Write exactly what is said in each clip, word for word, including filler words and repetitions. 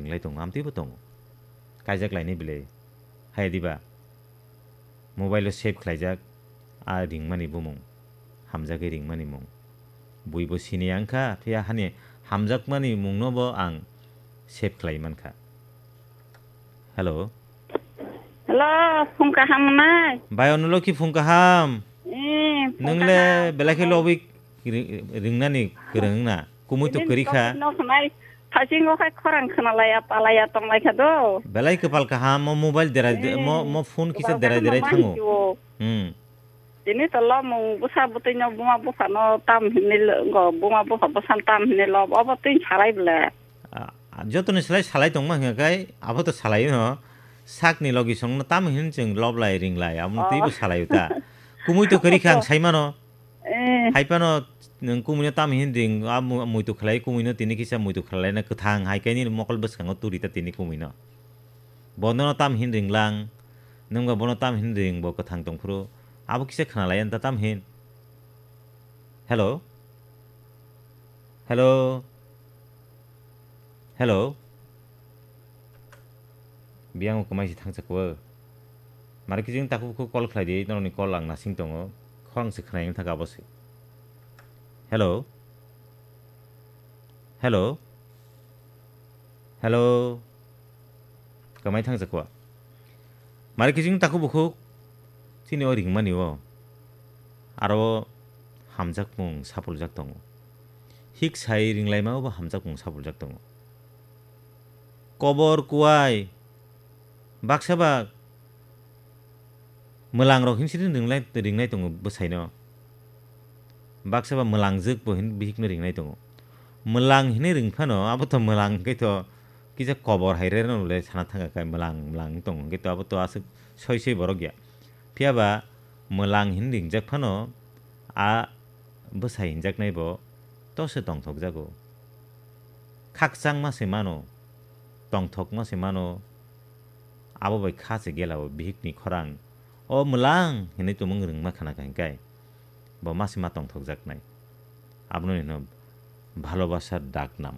ringlai tongo, amtwi bo tongo. Kaijak lainai belai. Hai diba? Mobile o save khlaijak, a ringmani bumung. Hamjagwi ringmani mung. Bui bo sini ang kha, phiya hani hamjakmani mungno bo ang save khlai man kha. Hello. Hello, phung kaham nai? Bai, ono loki phung kaham. Eh, phung Nung le kaham. Belai khe lobwi ri-, ringnani kwrwng na. Kumui to Ini kwrwi kha. Nok nai, thasing o khai khorang khna laya, palaya tong lai kha do. Belai kwpal kaham, mo mobile derai de-, Eh, mo, mo phone kisa kwpal derai kaham derai ma thango. Hiyo. Hmm. Tini to lomung bwsa bwtwi no buma bupha no tam hinwi lo, go buma bupha bwsa tam hinwi lo, obo twi salai bwle. Ah, jotoni slai salai tongma hwnka kai, abo to salai no. Sakni logi song no tam hin chwng loblai ringlai, amo twi bo Oh. Salai ta. Kumui to kwrwi kha ang Oh. Sai mano. Eh. Hai phano nwng kumui no tam hin ring, a mu-, muitu khlai kumui no tini kisa muitu khlai na kwthang hai kaini mokol bwskango turi ta tini kumui no. Bono no tam hin ringlang, nwng ba bono tam hin ring bo kwthang tongphuru. Abo kisa khna lai ta tam hin. Hello? Hello? Hello? Biyang kwmai si thangsa ko. Mari kijing taku ko call khlai di, noroni call ang nasing tongo. Khorang se khna yang thaka bosi. Hello? Hello? Hello? Kamai thang jakwa. Mari kijing taku bukhuk chini o ringmani o. Aro hamjakmung sapuljak tongo. Hik sai ringlaima o bo hamjakmung sapuljak tongo. Kobor kuai. Baksa bak. Mwlang rok hin siri ringlai, ringnai tongo bwsai no. Baksa ba mwlangjwk bo hin bihik no ringnai tongo. Mwlang hinwi ring phano, abo to mwlang hwnkhe to kisa kobor hai re no le sana thangkha kai mwlang, mwlang tong hwnkhe to abo to aswk soi soi borok ya. Phiya ba mwlang hin ringjak phano a bwsai hinjaknai bo to se tongthok jago. Khakchangma se mano, tongthokma se mano, abo bai kha se gela o bihik ni khorang. O mwlang hinwi tumung rwngma khana kha hwnkhe bo ma se ma tongthokjaknai. Abono hino bhalobasar dak nam.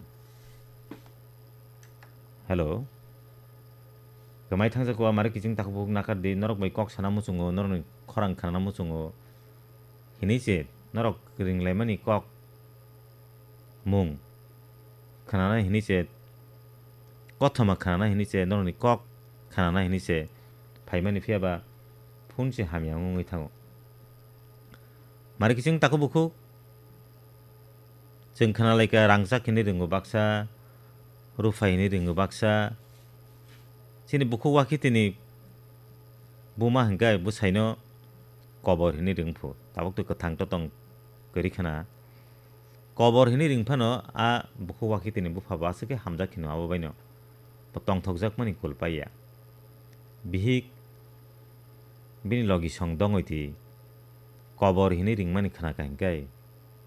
Hello. Kwmai thangsa ko amare kiching takhuk bukhuk nakar di, norok bai kok sana muchungo, norokni khorang khanana muchungo. Hinwi se norok ringlaimani kok mung khanana hinwi se, kothoma khanana hinwi se, norokni kok khanana hinwi se phaimani, phiya ba phone se hamya wngwi thango. Mari kiching takhuk bukhuk chwng khna lai kha, rangchak hinwi ringo baksa, ruphai hinwi ringo baksa. Chini bukhuk wakhi tini buma hwnkhe bwsaino kobor hinwi ring phu. Tabuk to kwthang totong kwrwi khna. Kobor hinwi ring phano a bukhuk wakhi tini bupha bo aswk khe hamjak kheno abo baino. Bo tongthokjakmani kul paiya. Bihik bini logi song dongwi twi kobor hinwi ringmani khna kha hwnkhe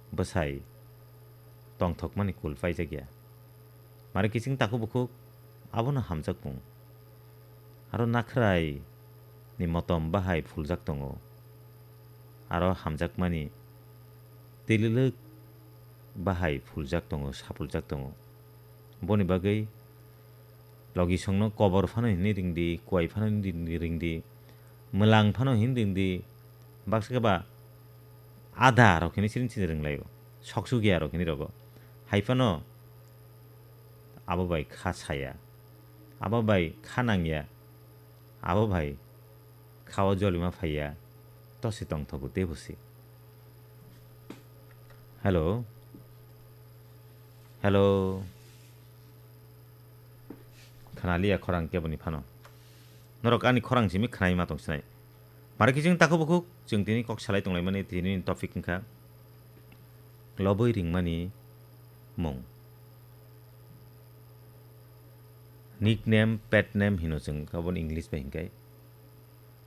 bwsai tongthokmani kul paijakya. Mari kiching takhuk bukhuk abono hamjakmung. Aro nakhrai ni motom bahai phuljak tongo. Aro hamjakmani twilwlwk bahai phuljak tongo, sapuljak tongo. Boni bagwi logi songno kobor phano hinwi ringdi, kuai phano hinwi ringdi, mwlang phano hinwi ringdi, baksa khe ba ada rok hinwi siring siring ringlaio, soksugia rok hinwi rogo. Hai phano abo bai kha saya, abo bai kha nangya, abo bai khao jolima phaiya, tosi tongthogo teibo se. Hello? Hello? Khnaliya khorang keboni phano. Norok ani khorang simi khnai ma tong sinai. Mari kiching takhuk bukhuk chwng tini kok salai tonglaimani tini topic wngkha lobwi ringmani mung. Nickname, pet name hino chwng aboni English bai hinkhe.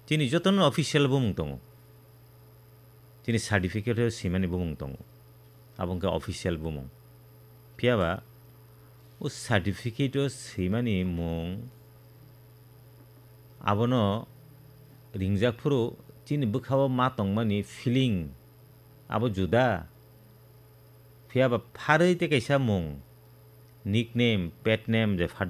Chini jotono official bumung tongo. Chini certificate o swimani bumung tongo. Abo wngkha official bumung. Phiya ba o certificate o swimani mung abono ringjak phuru chini bwkhao ma tongmani feeling abo juda. Phiya ba pharwi tei kaisa mung, nickname, pet name je phat